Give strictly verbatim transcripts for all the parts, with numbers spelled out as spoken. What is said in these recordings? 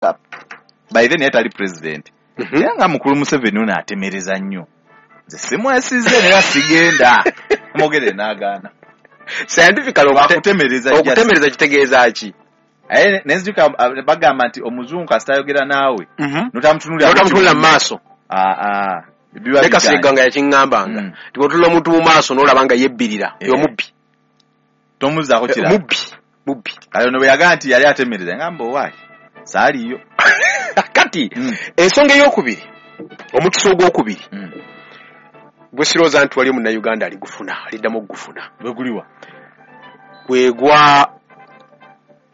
By then yali tali president. Mhm. Era nga mukulu Museveni ono atemereza nnyo, nze simwesize era sigenda mwogere n'agaana. Scientifically, okute- Bakutemereza just. Okutemereza kitegeeza ki? Aye nenzijuka ah, bagamba nti omuzungu kasita ayogera naawe notamutunulira. Notamutunulira mu maaso. Ah, ah, biba Ne Kasirigga bigaanye. nga yakiŋŋambanga Mm. nti bw'otunula omuntu mu maaso n'olaba nga yebbirira, Eh. omubbi. Tomuzaako kirala. Mubbi, mubbi. Kale ono bwe yagamba nti yali atemereza, ngamba owaayi saaliyo. Kati Mm. ensonga eyokubiri, omukisa ogwokubiri Mm. gwe sirowooza nti wali omunnayuganda aligufuna, aliddamu okugufuna, Gwe guliwa? gwe gwa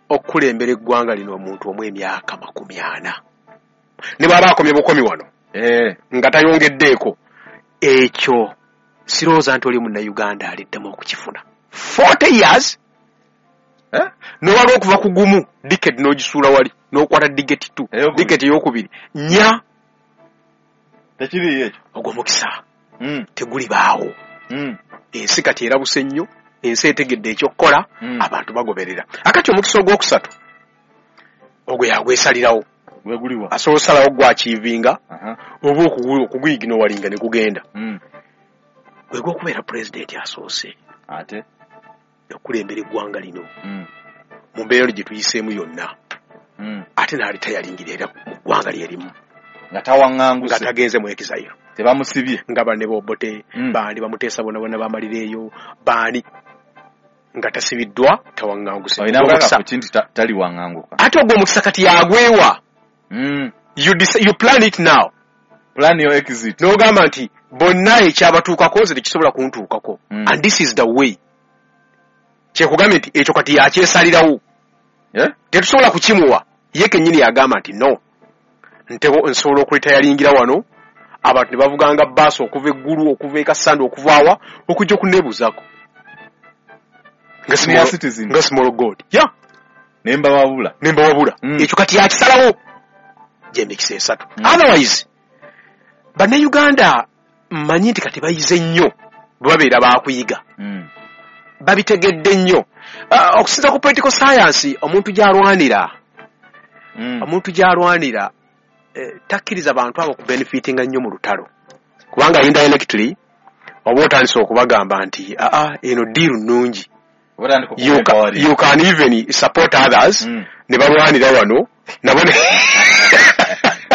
okukulembera eggwanga lino omuntu omu emyaka makumi ana, ne bw'aba akomye bukomi wano Eh, nga tayongeddeeko, ekyo sirowooza nti oli munnayuganda aliddamu okukifuna. forty years. Eh? Nowala okuva ku gumu decade n'ogisuula wali n'okwata decade two. Eyokubiri. Decade eyokubiri nnya. Tekiriyo ekyo. Ogwo mukisa Mm, tegulibaawo. mm, Ensi kati erabuse nnyo, ensi etegedde ekyokukola, Mm. abantu bagoberera. Akati omukisa ogwokusatu ogwo yagwesalirawo. Gwe guliwa? Asobola osalawo gwakiivinga Aha. oba okugu- okuguyiginowalinga ne gugenda. Mm. Gwe gwokubeera pulezidenti asoose Ate okulembera eggwanga lino Mm, mu mbeera gye tuyiseemu yonna, mm. ate n'alitayalingira era mu ggwanga lyerimu Nga nga tawaŋŋanguse. tagenze mu exile. Tebamusibye. Nga banne bobote, Mm. baani bamuteesa bona bona bamalira eyo, baani nga tasibiddwa, tawaŋŋanguse. Olina Ogwo bwaka omukisa- ku kintu ta- taliwaŋŋanguka. Ate ogwo omukisa kati yagwewa. Mm. you, dec- you plan it now. Plan your exit. N'ogamba nti bonna ekyabatuukako nze tekisobola kuntuukako, Mm. and this is the way. Kyekugambye nti ekyo kati yakyesalirawo. Eh? Tetusobola kukimuwa, ye kennyini yagamba nti no, ntebo nsobola okulitayalingira wano, abantu ne bavuganga baasi okuva eggulu, okuva e Kassanda, okuva awa, okujja okuneebuuzaako nga Senior small- citizen. nga small god ya. Ne mbawabula. Ne mbawabula. Mm. Ekyo kati yakisalawo, gyemikisa esatu. Mm. Otherwise bannayuganda mmanyi nti kati bayize nnyo, bwe babeera bakuyiga, Mm. babitegedde nnyo. Ah, okusinza ku political science, omuntu gy'alwanira, Mm. omuntu gy'alwanira eh, takkiriza bantu abo kubenefitinga nnyo mu lutalo, kubanga indirectly oba otandise okubagamba nti aa, eno deal nnungi. Oba otandika you, ca- okuempowering. You can even support others Mm. ne balwanira wano nabo ne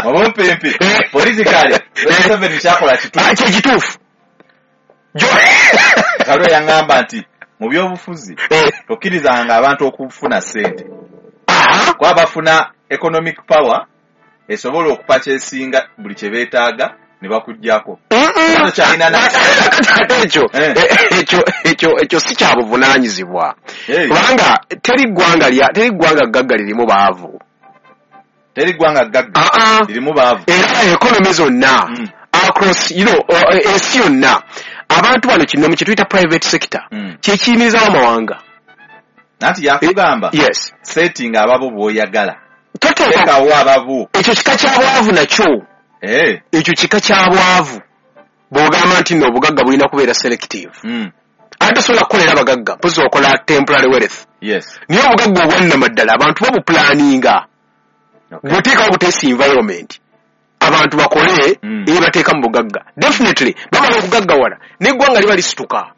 Obumpimpi politically Museveni kyakola Ah, kituufu. kye kituufu. Jo- Kalwe yaŋŋamba nti mu byobufuzi Eh, tokkirizanga abantu okufuna ssente, aha, kuba bafuna economic power esobola okupakyesinga buli kye beetaaga ne bakuggyako. Mm-mm. Tokyalina na- Ate ekyo Eh. ekyo ekyo ekyo si kya buvunaanyizibwa, Hey, kubanga teri ggwanga lya teri ggwanga ggagga lirimu baavu. Teri ggwanga ggagga Ah, ah. lirimu baavu. Era economy zonna Mm. across you know uh, ensi yonna, abantu bano kino mu kyetuyita private sector Mm. kyekiyimirizawo amawanga. Nanti yakugamba Yes. setting ababo bw'oyagala, Toteeka teekawo ababo. Ekyo kika kya bwavu nakyo. Eh, Ekyo kika kya bwavu bw'ogamba nti nno obugagga bulina kubeera selective. mm. Ate tosobola kukolera abagagga, mpozi okola temporary wealth, yes naye obugagga obwannamaddala abantu babupulaninga. Okay. Bw'oteekawo buteesi environment abantu bakole, Mm. ebateeka mu bugagga, definitely bamala okugaggawala n'eggwanga liba lisituka.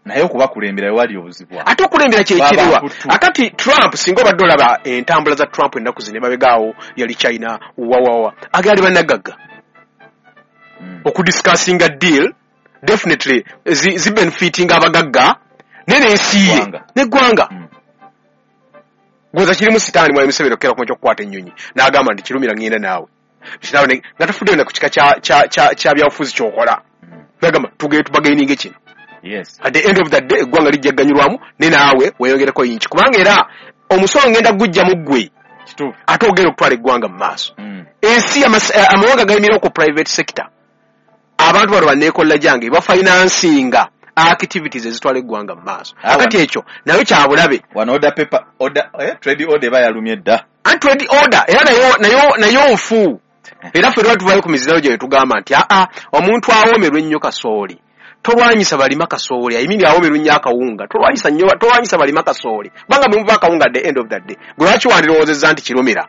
Naye okubakulembera wewali obuzibu awo. Ate okulembera kyekiriwa? Baba mputu. Akati Trump, singa obadde olaba entambula za Trump ennaku zino, emabegaawo yali China wawawa agaali bannagagga Mm. okudiscussinga deal, definitely zi- zibenefitinga abagagga naye n'ensi ye Eggwanga. n'eggwanga. Mm. Gwoza kirimu sitaani mwali Museveni okukera kuma kyokukwata ennyonyi n'agamba nti kirumira ŋŋenda naawe. Kiraawo ne- nga tafuddeyo na ku kika kya- kya- kya kya byabufuzi kyokola, Mm. nagamba tugende tubagaininge kino. Yes at the end of the day eggwanga lijja ganyulwamu ne naawe weeyongereko yinki, kubanga era omusolo ngenda gujja mu ggwe, Kituufu. ate ogenda okutwala eggwanga mu maaso. Mm. Ensi amas- eh, amawanga gayimirira ku private sector. Abantu bano banneekolela gyange bafinansinga activities ezitwala eggwanga mu maaso. Ah, Akati wano. ekyo nayo kyabulabe. Wano order paper, order, eh, trade order eba yalumye dda. Anti trade order era nayo nayo nayo nfu, era ffe lwa tuvayo ku mizirano gye tugamba nti aa, omuntu awoomerwa ennyo kasooli Tolwanyisa balima kasooli, I mean awomerwa nnyo akawunga. Tolwanyisa nnyo, tolwanyisa balima kasooli, kubanga mwe muva akawunga. At the end of the day, gwe lwaki wandirowoozezza nti Kirumira